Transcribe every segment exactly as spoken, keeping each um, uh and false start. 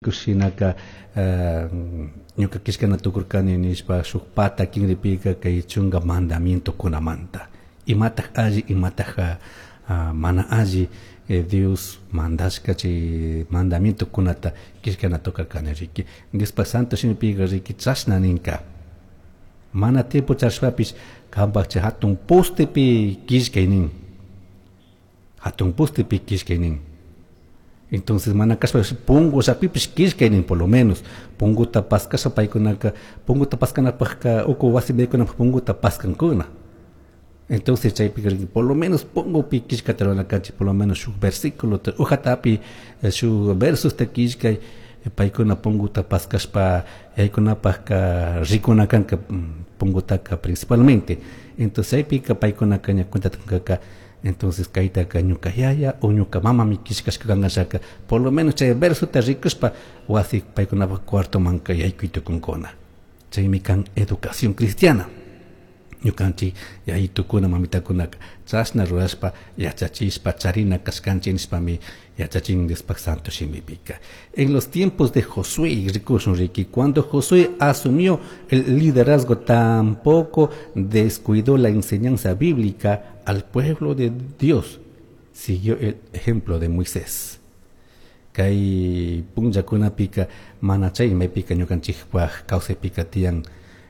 Shinaka ñuka killkana tukurkani nishpa shuk pata kinripika kay chunka mandamientokunamanta imataj alli, imataj mana alli Dios mandashka chay mandamientokunata killkana tukarkani riki. Diospa santo shimipika riki chashna ninka mana tiempo charishpapish kanpak chay hatun postepi killkay nin, hatun postepi killkay nin. Entonces mana kashpa pungu llapipish killkay nin, por lo menos punguta paskasha paykunaka punguta paskanapakka uku wasi yaykunapaj punguta paskankuna. Entonces chaypika por lo menos pungupi killkata rurana kanchik, por lo menos shuk versículo hojatapi shuk versosta killkay paykuna punguta paskashpa yaykunapakka rikuna kanka pungutaka principalmente. Entonces chaypika paykunaka ña cuentata kunkaka, entonces kaytaka ñuka yaya o ñuka mamami killkashka kankashaka, por lo menos chay versota rikushpa wasi paykunapak cuartomanka yaykuy tukunkuna. Chaymi kan educación cristiana. Ñukanchik yayitukuna mamitakunaka chashna rurashpa yachachishpa charina kashkanchik nishpami yachachin Diospak santo shimipika. En los tiempos de Josué, rikushun riki, cuando Josué asumió el liderazgo, tampoco descuidó la enseñanza bíblica al pueblo de Dios. Siguió el ejemplo de Moisés. Kay punllakunapika mana chay maypika ñukanchikpak kawsaypika tiyan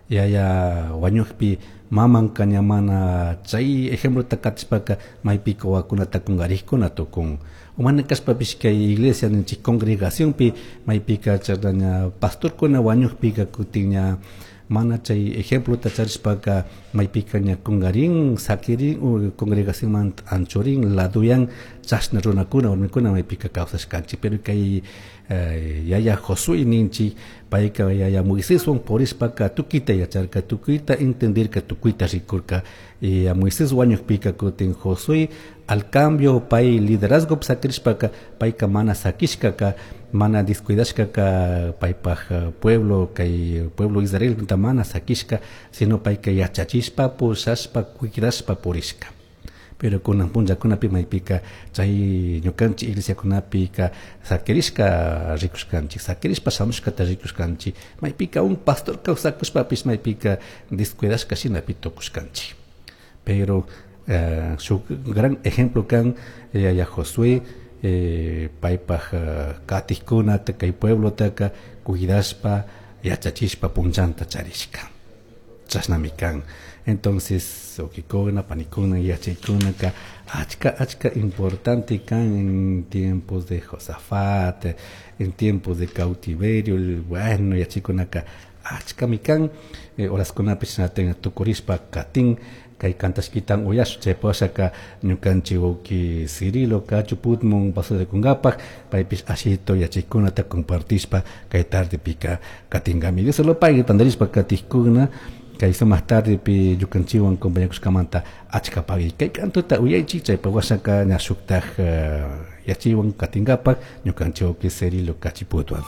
yaya wañukpi mamanka ña mana chay ejemplota katishpaka maypika wawakunata kunkarikuna tukun. O mana kashpapish kay iglesia ninchik congregacionpi maypika chashna ña pastorkuna wañukpika kutin ña mana chay ejemplota charishpaka maypika ña kunkarin sakirin o congregacionmanta anchurin laduyan chashna runakuna warmikuna maypika kawsashkanchik. Pero kay yaya Josué ninchik payka yaya Moiséswan purishpaka tukuyta yacharka, tukuyta entendirka, tukuyta rikurka. Y a Moisés wañukpika kutin Josué al cambio pay liderazgo sakirishpaka payka mana sakishkaka, mana descuidashkaka paypaj pueblo, kay pueblo Israel mana sakishka, sino payka yachachishpa pushashpa cuidashpa purishka. Pero kunan punllakunapi maypika chay ñukanchik iglesiakunapika sakirishka rikushkanchik, sakirishpa shamushkata rikushkanchik, maypika un pastor kawsakushpapish maypika descuidashka shinapi tukushkanchik. Pero eh, shuk gran ejemplo kan yaya Josué eh, paypaj katikkunata kay pueblotaka cuidashpa yachachishpa punllanta charishka. Chashnami kan. Entonces, wawkikuna, panikuna, yachaykunaka achka achka importante kan en tiempos de Josafat, en tiempos de cautiverio, bueno, yachaykunaka achkami kan, eh, horaskunapish shinatak tukurishpa katin kay kantashkitan uyash chay pashaka ñukanchik wawki Cirilo Kachuputmun pasarikunkapak paypish ashito yachaykunata compartishpa kay tardepika katinkami. Dios lo pague tandarishpa katikkuna kay sumak tardepi ñukanchikwan compañakushkamanta achka pagui kay kantuta uyaychik chaypa washaka ña shuktaj yachaywan katinkapak ñukanchik wawki Cirilo Kachiputwan.